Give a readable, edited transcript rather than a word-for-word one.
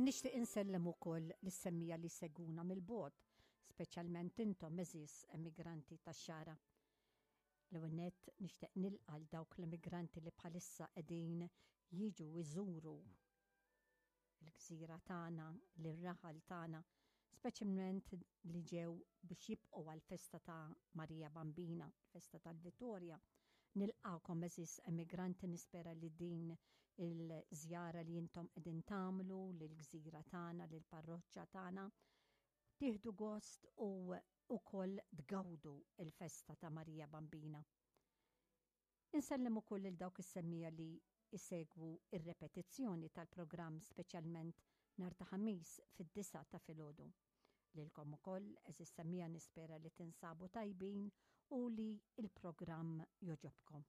Nixtieq insellem ukoll lis-semmiegħa li jsegwuna mill-bogħod, speċjalment intom għeżież emigranti tax-Xagħra. L-ewwel nett nixtieq nilqa' 'l dawk l-emigranti li bħalissa qegħdin jiġu jżuru l-gżira tagħna, lir-raħal tagħna, speċjalment li ġew biex jibqgħu għall-festa ta' Marija Bambina, festa tal-Vittorja. Nilqakom eżis emigranti nispera li din il-żjara li intom qegħdin tagħmlu lill-gżira tagħna, lill-parroċċa tagħna, tieħdu gost u ukoll tgawdu il-festa ta' Marija Bambina. Insellem ukoll lil dawk is-semmiegħa li jsegwu r-repetizzjoni tal-programm speċjalment nhar ta' Ħamis fid-disgħa ta' filgħodu. Lilkom ukoll, għeżież semmiegħa nispera li tinsabu tajbin u li l-programm jogħġobkom.